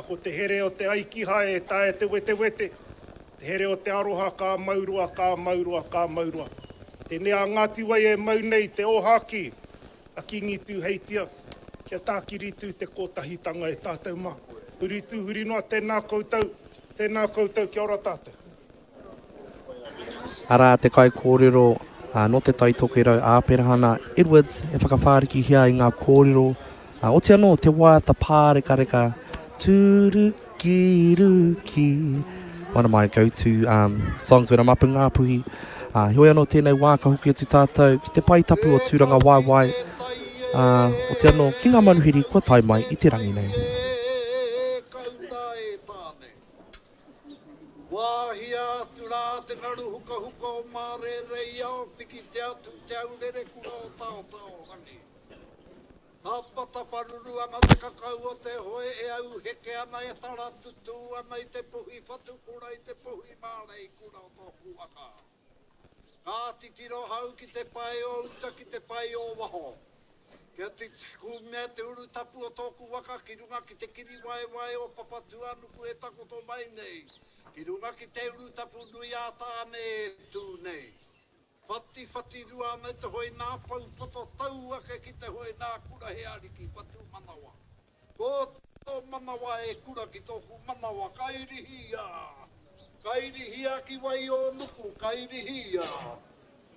Ko te here o te aikihae e taea te wetewete, te here o te aroha ka mau roa, ka mau roa, ka mau roa. Tēnei a Ngāti Wai e mau nei te ōhākī a Kīngi Tūheitia, kia tākiri tū te kōtahitanga e tātou mā. Huri tū, huri noa, tēnā koutou, tēnā koutou, kia ora tātou. Arā te kaikōrero nō Te Tai Tokerau a Aperahana Edwards e whakawhārikihia ai ngā kōrero, oti anō te waiata pārekareka Tūruki ruki, one of my go to um, songs when I'm up in Ngāpuhi. Uh, heoi anō tēnei wā ka hoki atu tātou ki te pae tapu o Tūrangawaewae, uh, oti anō ki ngā manuhiri kua tae mai i te rangi nei. Wāhia atu rā te ngaru hukahuka o Mārēreiao, pikitia atu te aurere kura o Taotaorangi. Ka pata paruru ana te kakau o te hoe e auheke ana e tara tutū ana i te puhi whatukura i te puhi māreikura o tōku waka. Ka titiro hau ki te pae o uta ki te pae o waho. Kia kumea te urutapu o tōku waka ki runga ki te kiriwaewae o Papatūānuku e takoto mai nei, ki runga ki te urutapu nui a Tāne e tū nei. Whatiwhatirua ana te hoe nā pou poto tau ake ki te hoe nā kura he ariki whatu manawa. Ko tō manawa e kura ki tōku manawa kairihia! Kairihia ki wai o nuku, kairihia!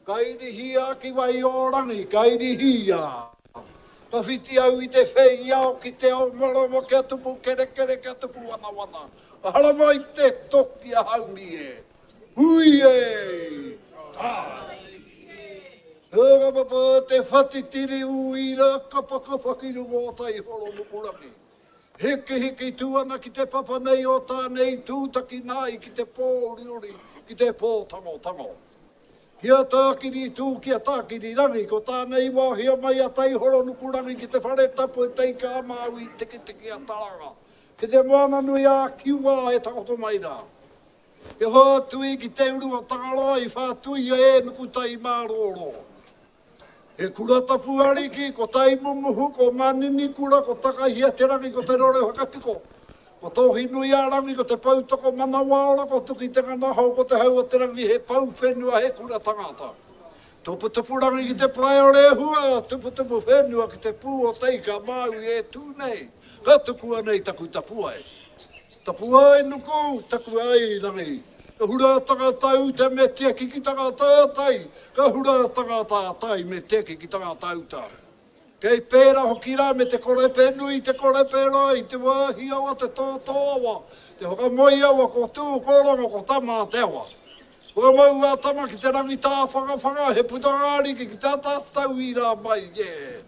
Kairihia ki wai o rangi, kairihia! Ka whiti au i te whei ao ki te ao marama kia tupu kerekere kia tupu wanawana. Haramai te toki a haumi e! Hui e! Ka! Papa te whatitiri uira kapakapa ki runga o Taihoro Nukurangi. Hikihiki tū ana ki te papa nei o Tāne i tūtaki nā i ki te pō uriuri, ki te pō tangotango. Ki a Tākiri tū, ki a Tākiri rangi, ko Tāne i wāhia mai a Taihoro Nukurangi ki te whare tapu e Teika a Māui i Tikitiki a Taranga, ki te moana nui a Kiwa e takoto mai rā. He whātui ki te uru o Tangaroa i whātuia e Nukutai Mārōrō. He kura tapu ariki, ko Taimumuhu, ko Maninikura, ko Takahiaterangi, ko Te Rore Whakapiko, ko Tōhinuiārangi, ko Te Poutoko Manawaora, ko Tuki Te Nganahau, ko Te Hau o Te Rangi, he pou whenua, he kura tangata. Tuputupurangi ki te pae o Rehua, tuputupu whenua ki te pū o Te Ika Māui e tū nei, ka tukua nei taku tapuae. Tapuae nuku, tapuae rangi. Ka hura tangata uta me tiaki ki tangata tai, ka hura tangata tai me tiaki ki tangata uta. Kei pērā hoki rā me te korepe nui, te korepe roa i te wāhi awa, te tōtō awa, te whakamoe awa, ko Tū, ko Rongo, ko Tama te awa. Whakamau a Tama ki te rangi tāwhangawhanga, he putanga ariki ki te ata tauira mai, yeah.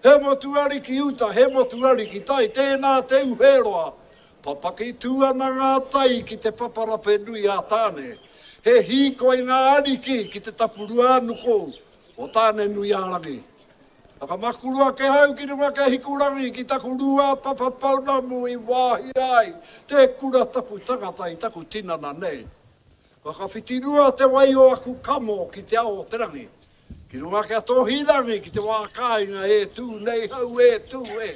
He motu ariki uta, he motu ariki tai, tēnā te uheroa. Papaki tū ana ngā tai ki te paparape nui a Tāne. He hīkoi ngā ariki ki te tapuruānuku o Tāne-nui-ā-rangi. Whakamakuru ake hau ki runga ki a Hikurangi ki taku rūāpapa pounamu i wāhia ai te kura tapu tangata i taku tinana nei. Whakawhitirua te wai o aku kamo ki te ao o te rangi. Ki runga ki a Tōhirangi ki te wā kāinga e tū nei hau e tū e.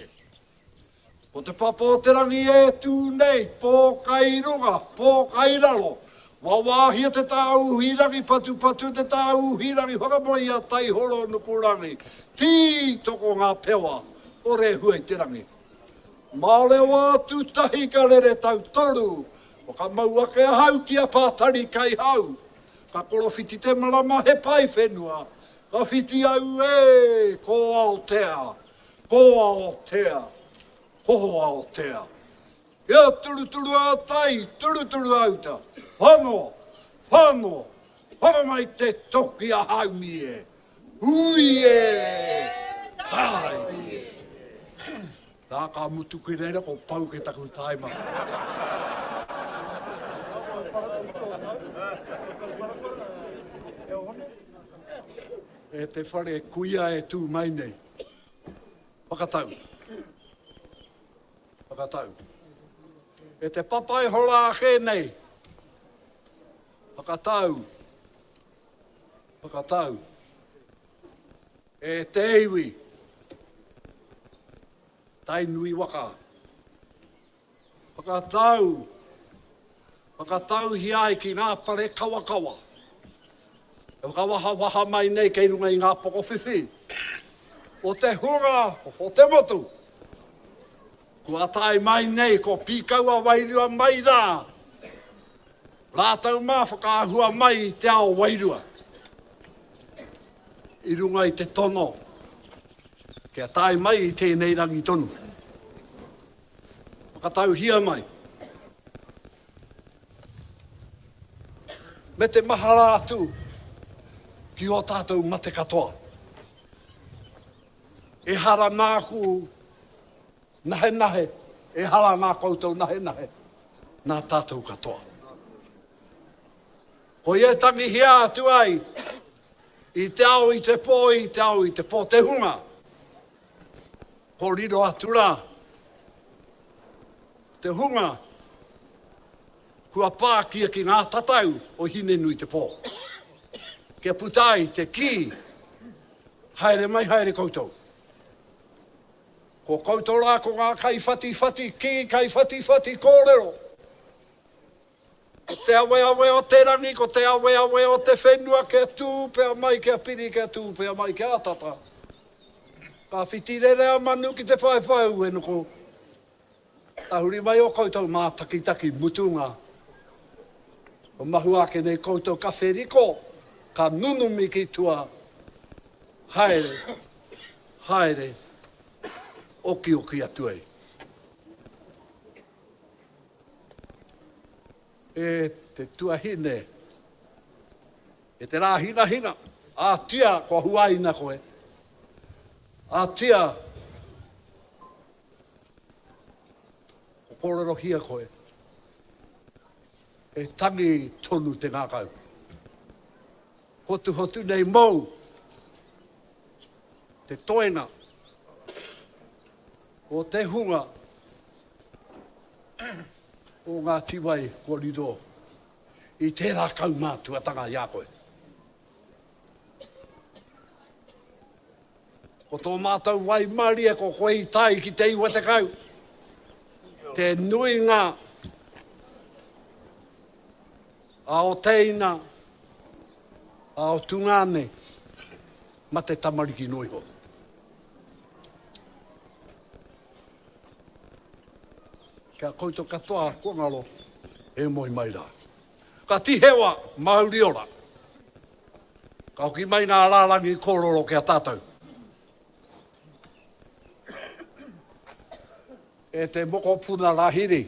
Ko te papa o te rangi e tū nei, pō kai runga, pō kai raro. Wawāhia te tāuhi rangi, patupatu te tāuhi rangi, whakamoe i a Taihoro Nukurangi. Tītoko ngā pewa o Rehua i te rangi. Mārewa atu tahi ka rere tautoru, whakamau ake ahau ki a Pātari Kaihau. Ka korowhiti te marama he pae whenua, ka whiti au e, ko Aotea, ko Aotea, ko Aotea. Kia turuturu a tai, turuturu a uta, whano, whano, whano mai te toki a haumi e, hui e, tāiri e. Nā, ka mutu ki reira, ko pau ke taku taima. E te whare kuia e tū mai nei. Whakatau. Whakatau. E te papa e hora ake nei. Whakatau. Whakatau. E te iwi. Tainui waka. Whakatau, whakatauhia ai ki ngā pare kawakawa e whakawahawaha mai nei kei runga i ngā pokowhiwhi o te hunga o te motu. Kua tae mai nei ko Pīkaua wairua mai rā, rātou mā whakaahua mai i te ao wairua i runga i te tono kia tae mai i tēnei rangi tonu. Whakatauhia mai. Me te mahara atu ki ō tātou mate katoa. Ehara nāku nahenahe, ehara nā koutou nahenahe, nā tātou katoa. Koia e tangihia atu ai i te ao i te pō, i te ao i te pō te hunga. Ko riro atu rā te hunga kua pākia ki ngā tatau o Hinenuitepō. Kia puta ai te kī, haere mai haere koutou. Ko koutou rā ko ngā kaiwhatiwhati kī, kaiwhatiwhati kōrero. Ko te aweawe o te rangi, ko te aweawe o te whenua kia tūpea mai, kia piri, kia tūpea mai, kia tata. Ka whiti rere a manu ki te paepae uenuku. Tahuri mai o koutou mātakitaki mutunga. Kua mahua ake nei koutou ka wheriko, ka nunumi ki tua. Haere, haere, okioki atu ai. E te tuahine, e te rā hingahinga, ātia kua huaina koe, ātia kua kōrerohia koe, e tangi tonu te ngākau. Hotuhotu nei mōu te toenga o te hunga o Ngāti Wai kua riro i tērā kaumātuatanga i a koe. Ko tō mātou waimarie ko koe i tae ki te 90, te nuinga a o teina, a o tungāne, mate tamariki noa iho. Ki a koutou katoa kua ngaro, e moe mai rā. Ka tihewa, mauri ora. Ka hoki mai ngā rārangi kōrero ki a tātou. E te mokopuna Rahiri,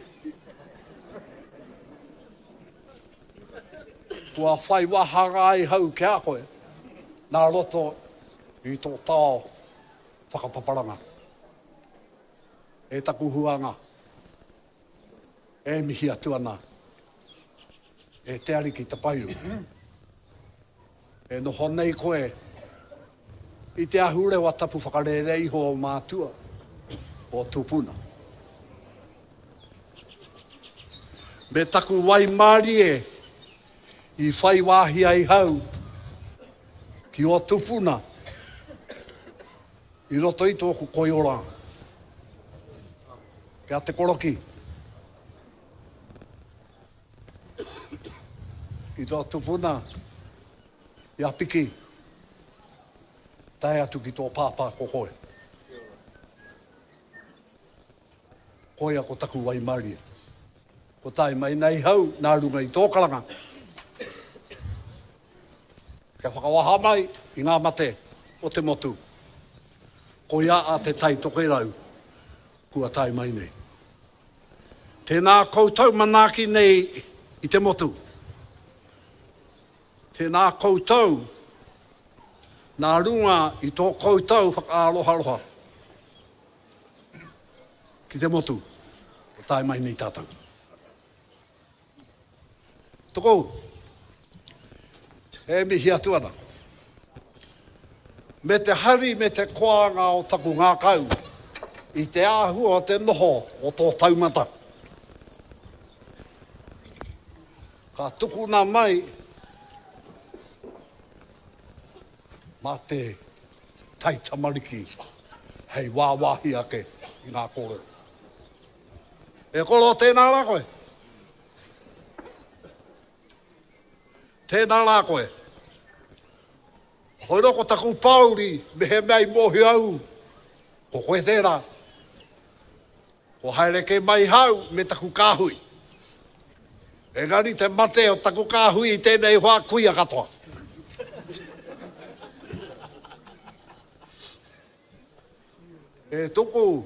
kua whai wāhanga ai hau ki a koe nā roto i tō tao whakapaparanga. E taku huanga, e mihi atu ana e te Ariki Tapairu. E noho nei koe i te ahurewa tapu whakarērea iho o mātua, o tupuna. Me taku waimarie i whai wāhi ai hau ki ō tupuna i roto i tōku koiora. Kia Te Koroki. I tō tupuna, i a Piki, tae atu ki tō pāpā ko koe. Koia ko taku waimarie. Ko tae mai nei hau nā runga i tō karanga. Kia whakawaha mai i ngā mate o te motu. Koia a Te Tai Tokerau kua tae mai nei. Tēnā koutou manaaki nei i te motu. Tēnā koutou nā runga i tō koutou whakaaroharoha ki te motu kua tae mai nei tātou. Tokou, e mihi atu ana. Me te hari me te koanga o taku ngākau i te āhua o te noho o tō taumata. Ka tukuna mai mā te taitamariki hei wāwāhi ake i ngā kōrero. E koro, tēnā rā koe. Tēnā rā koe. Hoi rō ko taku pāuri, mehemea i mōhio au, ko koe tērā. Ko haere kē mai hau me taku kāhui. Engari te mate o taku kāhui i tēnei wā kuia katoa. E tuku,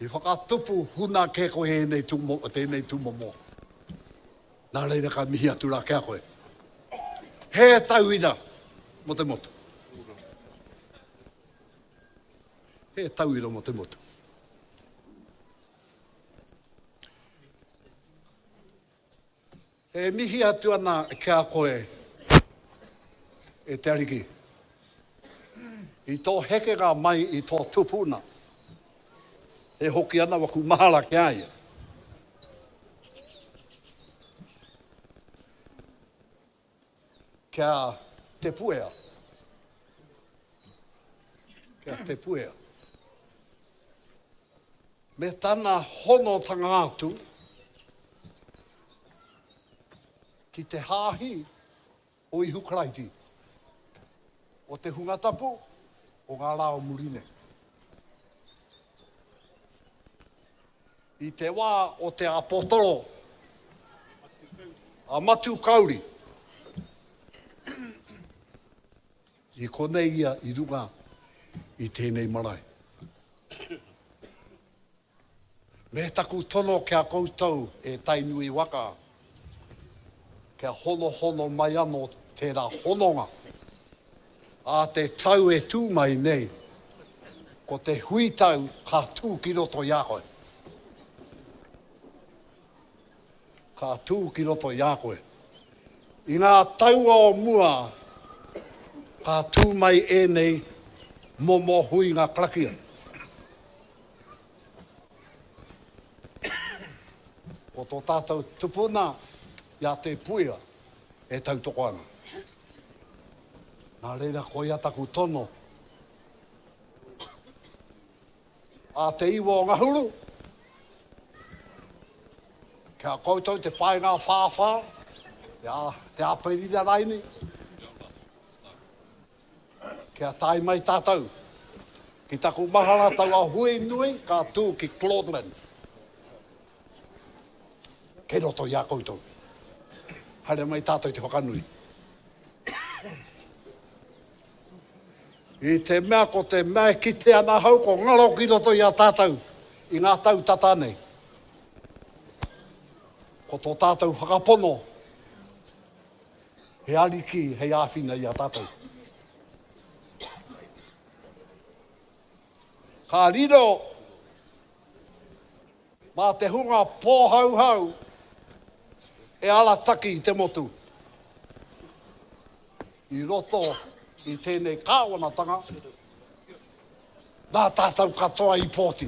i whakatupu huna kē koe ēnei tūmomo, tēnei tūmomo. Nā reira ka mihi atu rā ki a koe. He tauira mō te motu. He tauira mō te motu. E mihi atu ana ki a koe, e te Ariki, i tō hekenga mai i tō tupuna, e hoki ana waku mahara ki a ia. Kia Te Puea. Kia Te Puea. Me tana honotanga atu ki te Hāhi o Ihu Karaiti, o te Hunga Tapu o ngā Rā o Muri Nei. I te wā o te āpotoro a Matiu Kauri, i konei ia i runga i tēnei marae. Me taku tono ki a koutou e Tainui waka, kia honohono mai anō tērā hononga Ā te tau e tū mai nei, ko te huitau ka tū ki roto i a koe. Ka tū ki roto i a koe. I ngā taua o mua, ka tū mai ēnei momo huinga karakia. Ko tō tātou tupuna i a Te Puia e tautoko ana. Nā reira, koia taku tono. A te iwa o Ngahuru, ki a koutou te paenga whāwhā, te, a, te Aperira raini, kia tae mai tātou ki taku mahara taua hui nui ka tū ki Claudelands. Kei roto i a koutou. Haere mai tātou te whakanui. I te mea ko te mea e kite ana ahau ko ngaro ki roto i a tātou i ngā tau tata nei. Ko tō tātou whakapono he ariki hei āwhina i a tātou. Ka riro Mā te hunga pōhauhau e arataki i te motu i roto i tēnei kāwanatanga, nā tātou katoa i pōti.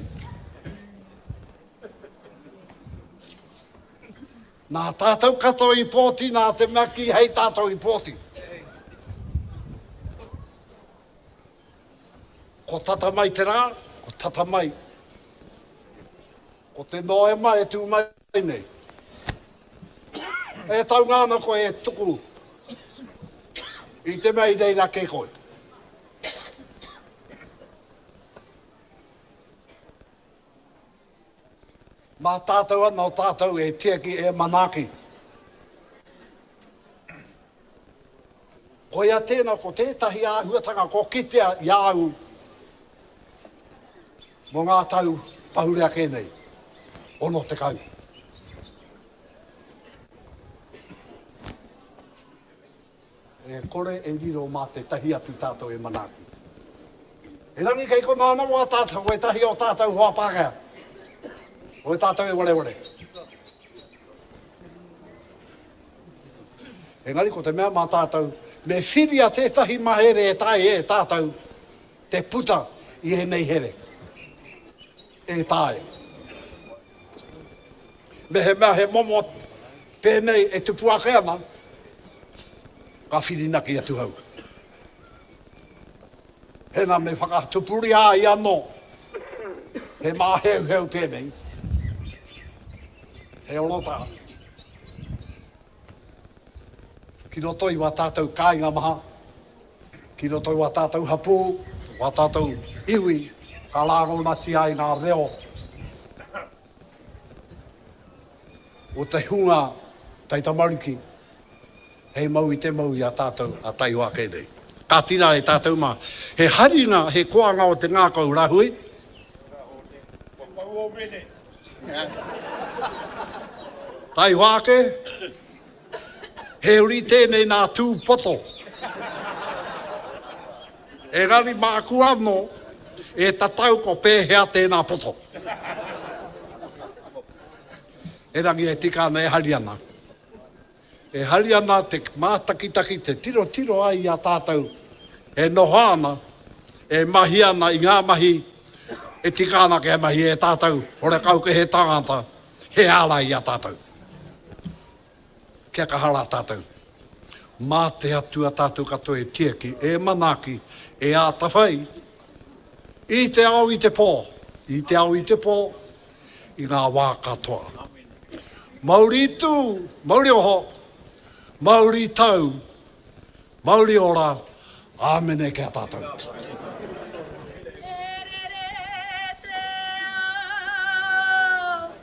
Nā tātou katoa i pōti, nā te mea kīhei tātou i pōti. Ko tata mai te rā, ko tata mai. Ko te Noema e tū mai nei. E taunga ana koe e tuku i te mea i reira kē koe. Mā tātou anō tātou e tiaki, e manaaki. Koia tēnā ko tētahi āhuatanga ko kitea i a au mō ngā tau pahure ake nei, 60. E kore e riro mā tētahi atu tātou e manaaki. Erangi kei konā anō ā tātou, wētahi o tātou hoa Pākehā, o tātou e wareware. Engari ko te mea mā tātou, me whiria tētahi mahere e taea e tātou te puta i ēnei here. E taea. Mehemea he momo pēnei e tupu ake ana, ka whirinaki atu hau. Hena me whakatupuria ai anō. He māheuheu tēnei, he orotā ki roto i wā tātou kāinga maha, ki roto i wā tātou hapū, wā tātou iwi, ka rāngonatia ai ngā reo o te hunga taitamariki hei mau i te mau i a tātou a taihoa ake nei. Ka tira e tātou mā, he haringa, he koanga o te ngākau rahui. Kua pau o mene. Taihoa ake, he uri tēnei nā Tūpoto. Engari māku anō e tatau ko pēhea tēnā poto. Erangi e tika ana e hari ana. E hari ana te mātakitaki, te tirotiro ai i a tātou e noho ana, e mahi ana i ngā mahi e tika ana kia mahi e tātou, horekau ke he tangata, he ārai i a tātou. Kia kaha rā tātou. Mā te Atua tātou katoa e tiaki, e manaaki, e ātawhai i te ao i te pō, i te ao i te pō, i ngā wā katoa. Mauri tū, mauri oho, mauri tau, mauri ora, āmene ki a tātou.